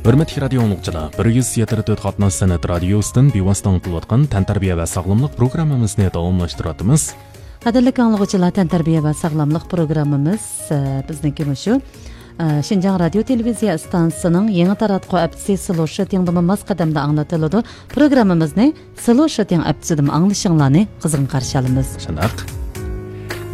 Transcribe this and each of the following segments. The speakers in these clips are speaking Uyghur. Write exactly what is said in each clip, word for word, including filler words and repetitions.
ھۆرمەتلىك رادىيو ئاڭلىغۇچىلار، بىر يۈز يەتتە تۆت قاتناش سەنئەت رادىيوسىدىن بىۋاسىتە ئاڭلىتىۋاتقان تەنتەربىيە ۋە ساغلاملىق پروگراممىمىزنى داۋاملاشتۇرۇۋاتىمىز. قەدىرلىك ئاڭلىغۇچىلار، تەنتەربىيە ۋە ساغلاملىق پروگراممىمىز، ئە، بىزنىڭكى مۇشۇ، ئە، شىنجاڭ رادىيو تېلېۋىزىيە ئىستانسىسىنىڭ يېڭى تاراتقۇ ھەپتىسى سلو شوتىڭدىمۇ ماس قەدەمدە ئاڭلىتىلىدۇ. پروگراممىمىزنى سلو شوتىڭ ئەپتىسىدىمۇ ئاڭلىشىڭلارنى قىزغىن قارشى ئالىمىز. شۇنداق.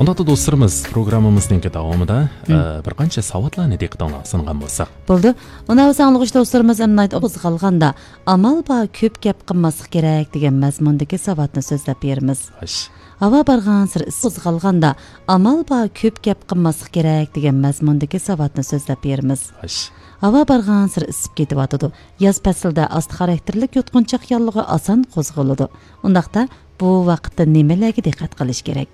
ئۇنداقتا دوستلىرىمىز، پروگراممىمىزنىڭكى داۋامىدا، مم. ئە، بىر قانچە ساۋاتلارنى دىققىتىڭلارغا سۇنغان بولساق. بولدى. ئۇنداق بولسا ئاڭلىغۇچى دوستلىرىمىز ئەمدى قوزغالغاندا، ئامال بار كۆپ گەپ قىلماسلىق كېرەك دېگەن مەزمۇندىكى ساۋاتنى سۆزلەپ بېرىمىز. خوش. ھاۋا بارغانسېرى ئىسسىپ قوزغالغاندا، ئامال بار كۆپ گەپ قىلماسلىق كېرەك دېگەن مەزمۇندىكى ساۋاتنى سۆزلەپ بېرىمىز. خوش. ھاۋا بارغانسېرى ئىسسىپ كېتىۋاتىدۇ. ياز پەسلىدە ئاستا خاراكتېرلىك يۇتقۇنچاق ياللۇغى ئاسان قوزغىلىدۇ. ئۇنداقتا بۇ ۋاقىتتا نېمىلەرگە دىققەت قىلىش كېرەك؟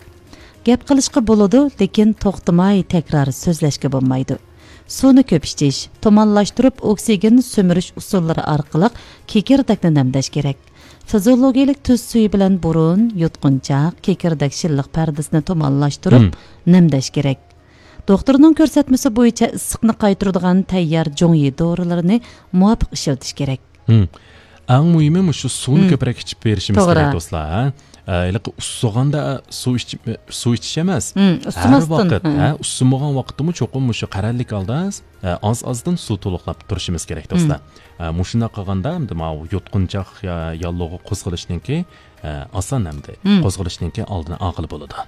گەپ قىلىشقا بولىدۇ، لېكىن توختىماي تەكرار سۆزلەشكە بولمايدۇ. سۇنى كۆپ ئىچىش، تۇمانلاشتۇرۇپ ئوكسىگېن سۈمۈرۈش ئۇسۇللىرى ئارقىلىق كېكىردەكنى نەمدەش كېرەك. فىزىولوگىيەلىك تۈز سۈيى بىلەن بۇرۇن، يۇتقۇنچاق، كېكىردەك شىللىق پەردىسىنى تۇمانلاشتۇرۇپ مم. نەمدەش كېرەك. دوختۇرنىڭ كۆرسەتمىسى بويىچە ئىسسىقنى قايتۇرىدىغان تەييار جۇڭيى دورىلىرىنى مۇۋاپىق ئىشلىتىش كېرەك. مم. ئەڭ مۇھىمى مۇشۇ سۇنى مم. كۆپرەك ئىچىپ بېرىشىمىز توغرا. كېرەك، دوستلار، ھە؟ ئە، ھېلىقى ئۇسسىغاندا سۇ ئىچىپ، سۇ ئىچىش ئەمەس. مم، ھەر ئۇسسىماستىن، ۋاقىت، ھە. ھە، ئۇسسىمىغان ۋاقىتتىمۇ چوقۇم مۇشۇ قەرەللىك ھالدا، ئە، ئاز-ئازدىن سۇ تولۇقلاپ تۇرۇشىمىز كېرەك، مم. دوستلار. ئە، مۇشۇنداق قىلغاندا، ئەمدى ماۋۇ يۇتقۇنچاق يا-، ياللۇغى قوزغىلىشنىڭكى، ئە، ئاسان ئەمدى. مم. قوزغىلىشنىڭكى ئالدىنى ئالغىلى بولىدۇ.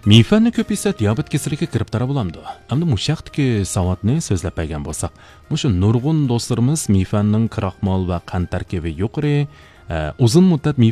مىفەننى كۆپ يېسە دىيابېت كېسىلىگە گىرىپتار بولامدۇ؟ ئەمدى مۇشۇ ھەقتىكى ساۋاتنى سۆزلەپ بەرگەن بولساق، مۇشۇ نۇرغۇن دوستلىرىمىز مىفەننىڭ كراخمال ۋە قەنت تەركىبى يۇقىرى، ئە، ئۇزۇن مۇددەت مىفەن